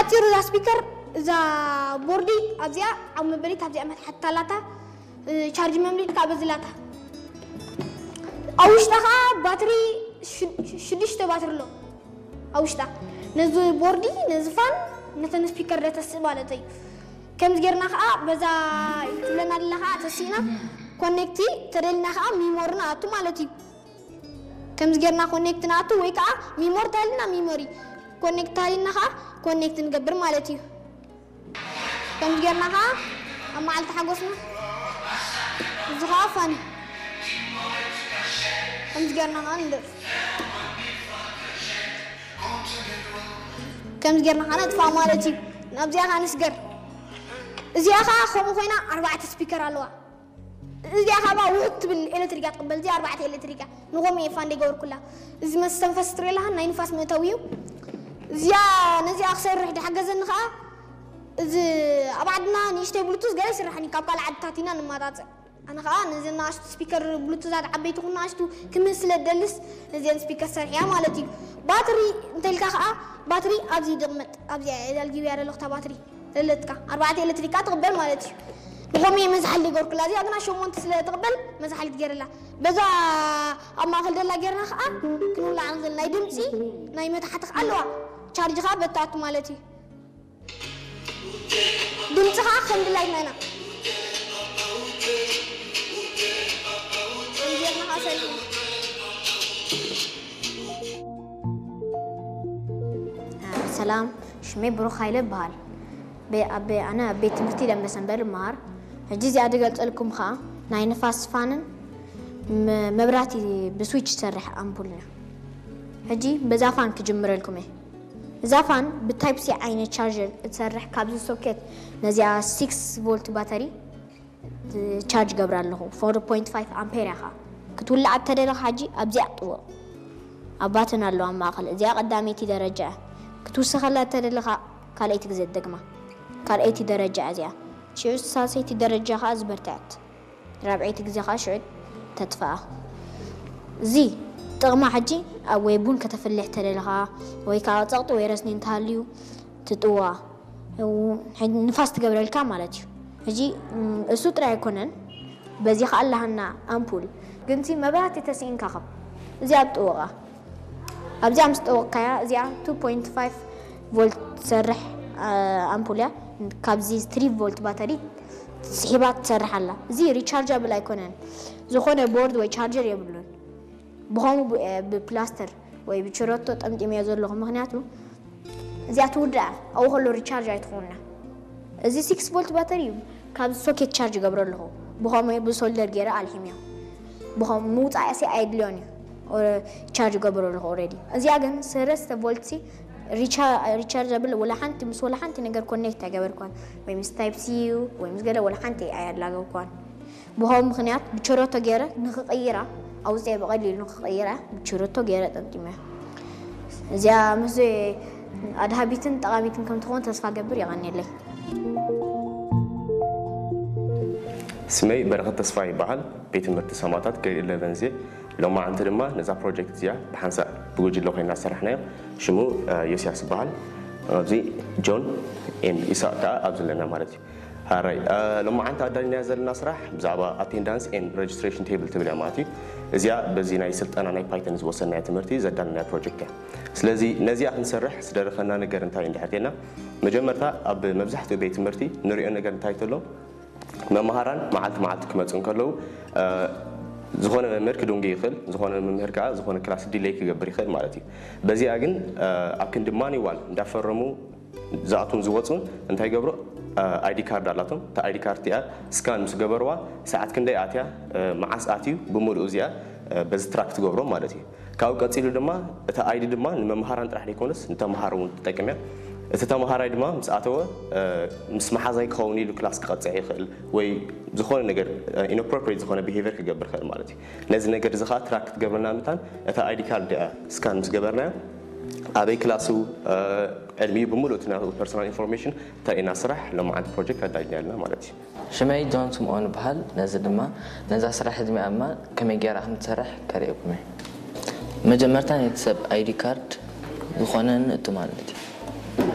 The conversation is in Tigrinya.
ኣፂሩ እዛ ስፒከር እዛ ቦርዲ ኣብዚኣ ኣብ መበሊት ኣብዚኣ መትሓት ኣላታ። ቻርጅ መምሊጥ ካብ በዝላታ ኣብ ውሽጣ ከዓ ባትሪ ሽዱሽተ ባትሪ ኣሎ ኣብ ውሽጣ። ነዚ ቦርዲ ነዚ ፋን ነተን ስፒከር ደተስእ ማለት እዩ። ከምዚ ጌርና ከዓ በዛ ትብለና ኣለካ ተሲእና ኮኔክቲ ተደልና ከዓ ሚሞሪ ንኣቱ ማለት እዩ። ከምዚ ጌርና ኮኔክት ንኣቱ ወይ ከዓ ሚሞሪ ተሃልና ሚሞሪ ኮኔክት ተሃልና ከዓ ኮኔክት ንገብር ማለት እዩ። ከምዚ ጌርና ከዓ ኣብ መዓልቲ ሓጎስና እዚ ከዓ ፋን እዩ። ከምዚ ጌርና ከዓ ንደርፍ ከምዚ ጌርና ከዓ ነጥፋ ማለት እዩ። ናብዚኣ ከዓ ንስገር። እዚኣ ከዓ ከምኡ ኮይና ኣርባዕተ ስፒከር ኣለዋ። እዚኣ ካብ ውሕድ ትብል ኤሌክትሪክ እያ ትቕበል። እዚኣ ኣርባዕተ ኤሌክትሪክ እያ። ንኸምኡ እየ ፋን ዘይገበርኩላ። እዚ መስተንፈስ ትርኢ ኣለኻ፣ ናይ ንፋስ መእተዊ እዩ። እዚኣ ነዚኣ ክሰርሕ ድሓገዘኒ ከዓ እዚ ኣብ ዓድና ንእሽተይ ብሉቱዝ ገለ ይስራሕኒ ካብ ካልእ ዓድታት ኢና ንመጣፅእ። ኣነ ከዓ ነዚ ናእሽቱ ስፒከር ብሉቱዛት ዓበይቲ ኩን ናእሽቱ ክምህዝ ስለ ደልስ ነዚአን ስፒከር ሰርሕያ ማለት እዩ። ባትሪ እንተልካ ከዓ ባትሪ ኣብዚ ድቕመጥ ኣብዚኣ የዳልጊብያ ዘለኹ እታ ባትሪ ዘለትካ ኣርባዕተ ኤሌክትሪካ ትቕበል ማለት እዩ። ንኸምኡ መዝሓሊ ገርኩላ እዚኣ ግና ሸሞንተ ስለ ትቕበል መዝሓሊ ትገርላ። በዛ ኣብ ማእኸል ደላ ጌርና ከዓ ክንውላዕ ንኽእል ናይ ድምፂ ናይ መታሕቲ ከዓ ኣለዋ። ቻርጅ ከዓ በታቱ ማለት እዩ። ድምፂ ከዓ ከም ድላይና ኢና ጌርና ከዓ ሰሪሕና። ሰላም፣ ሽመይ ብሩኽ ሃይለ ይበሃል። ኣነ ኣብ ቤት ትምህርቲ ደንበሰንበር እመሃር። ሕጂ እዚኣ ድገልፀልኩም ከዓ ናይ ንፋስ ፋንን መብራህቲ ብስዊች ትሰርሕ ኣምፑልን እያ። ሕጂ በዛ ፋን ክጅምረልኩም እየ። እዛ ፋን ብታይፕ ሲ ዓይነት ቻርጀር እትሰርሕ፣ ካብዚ ሶኬት ነዚኣ ሲክስ ቮልት ባተሪ ቻርጅ ገብራ ኣለኹ። ፎር ፖይንት ፋይቭ ኣምፔር እያ ከዓ ክትውላዕ እተደለኻ ሕጂ ኣብዚኣ ጥወቕ። ኣብ ባተን ኣለዋ ኣብ ማእኸል። እዚኣ ቀዳመይቲ ደረጃ እያ። ክትውስኸላ እተደለኻ ካልኣይቲ ግዜ ትደግማ። ካልኣይቲ ደረጃ እያ እዚኣ። ሽዑ ሳልሰይቲ ደረጃ ከዓ ዝበርትዐት። ራብዐይቲ ግዜ ከዓ ሽዑ ተጥፍኣ። እዚ ጥቕማ ሕጂ ኣብ ወይ ቡን ከተፍልሕ ተደለኻ ወይ ከዓ ፀቕጢ ወይ ረስኒ እንተሃልዩ ትጥዋ ንፋስ ትገብረልካ ማለት እዩ። ሕጂ እሱ ጥራይ ኣይኮነን፣ በዚ ከዓ ኣለሃና ኣምፑል ግንቲ መብራህቲ ተስኢንካ ከም እዚኣ ጥወቓ ኣብዚኣ ምስ ጠወቕካያ እዚኣ ቱ ፖይንት ፋይቭ ቮልት ትሰርሕ ኣምፑል እያ። ካብዚ ትሪ ቮልት ባተሪ ስሒባ ትሰርሕ ኣላ። እዚ ሪቻርጃብል ኣይኮነን፣ ዝኾነ ቦርድ ወይ ቻርጀር የብሉን። ብኸምኡ ብፕላስተር ወይ ብችረቶ ጠምጢመዮ ዘለኹ፣ ምኽንያቱ እዚኣ ትውዳእ ኣብኡ ከሎ ሪቻርጅ ኣይትኾንና። እዚ ሲክስ ቮልት ባተሪ እዩ፣ ካብዚ ሶኬት ቻርጅ ገብሮ ኣለኹ። ብኸምኡ ብሶልደር ገይረ ኣልሒምዮ። ብኸም ምውፃእ ሲ ኣይድልዮን እዩ፣ ቻርጅ ገብሮ ኣለኹ ኦልሬዲ። እዚኣ ግን ሰለስተ ቮልት ሲ ሪቻርጃብል፣ ወላ ሓንቲ ምስ ወላ ሓንቲ ነገር ኮኔክት ኣይገበርኳን፣ ወይ ምስ ታይፕ ሲ እዩ ወይ ምስ ገለ ወላ ሓንቲ ኣያላገብኳን። ብኸምኡ ምኽንያት ብቸረቶ ገይረ ንኽቕይራ ኣውፅኤ፣ ብቐሊሉ ንኽቕይራ ብቸረቶ ገይረ ጠምጢመ። እዚኣ ምስ ኣድሃቢትን ጠቓሚትን ከም ትኾን ተስፋ ገብር። የቐንየለይ። ስመይ በረኸት ተስፋ ይበሃል። ቤት ትምህርቲ ሰማታት ግሬድ ኢለቨን እየ። ሎማዓንቲ ድማ ነዛ ፕሮጀክት እዚኣ ብሓንሳእ ብጉጅለ ኮይና ዝሰራሕናዮ። ሽሙ ዮስያስ ይበሃል። ኣብዚ ጆን ኤን ኢሳቅ ከዓ ኣብዚ ኣለና ማለት እዩ። ሃራይ ሎማዓንቲ ኣዳሊናዮ ዘለና ስራሕ ብዛዕባ ኣቴንዳንስ ኤንድ ረጅስትሬሽን ቴብል ትብል እያ ማለት እዩ። እዚኣ በዚ ናይ ስልጠና ናይ ፓይተን ዝወሰድናዮ ትምህርቲ ዘዳለናያ ፕሮጀክት እያ። ስለዚ ነዚኣ ክንሰርሕ ዝደረኸና ነገር እንታይ እንድሕር ቴና፣ መጀመርታ ኣብ መብዛሕትኡ ቤት ትምህርቲ ንሪኦ ነገር እንታይ ተሎ፣ መምሃራን መዓልቲ መዓልቲ ክመፁ እንከለዉ ዝኾነ መምህር ክድንጉ ይኽእል፣ ዝኾነ መምህር ከዓ ዝኾነ ክላስ ዲሌይ ክገብር ይኽእል ማለት እዩ። በዚኣ ግን ኣብ ክንዲ ማኒዋል እንዳፈረሙ ዝኣትዉን ዝወፁን እንታይ ይገብሩ? ኣይዲ ካርድ ኣላቶም። እታ ኣይዲ ካርድ እቲኣ ስካን ምስ ገበርዋ ሰዓት ክንደይ ኣትያ፣ መዓስ ኣትዩ ብምሉኡ እዚኣ በዚ ትራክ ትገብሮ ማለት እዩ። ካብኡ ቀፂሉ ድማ እታ ኣይዲ ድማ ንመምሃራን ጥራሕ ዘይኮነስ ንተምሃሮ እውን ትጠቅም እያ። እቲ ተምሃራይ ድማ ምስ ኣተወ ምስ መሓዛይ ክኸውን ኢሉ ክላስ ክቐፅዕ ይኽእል ወይ ዝኾነ ነገር ኢንኣፕሮፕሬት ዝኾነ ቢሄቨር ክገብር ይኽእል ማለት እዩ። ነዚ ነገር እዚ ከዓ ትራክ ክትገብረና ምታን እታ ኣይዲ ካርድ እያ ስካን ምስ ገበርናያ ኣበይ ክላሱ ዕድሚኡ ብምሉእ እቲ ናቱ ፐርሶናል ኢንፎርሜሽን ተርእየና ስራሕ ሎማዓንቲ ፕሮጀክት ኣዳሊና ኣለና ማለት እዩ። ሽመይ ጆን ስምኦን ይበሃል። ነዚ ድማ ነዛ ስራሕ ዕድሚኣ ድማ ከመይ ገይራ ከም ትሰርሕ ከርእየኩም እየ። መጀመርታ ነቲ ሰብ ኣይዲ ካርድ ዝኾነ ንእቱ ማለት እዩ።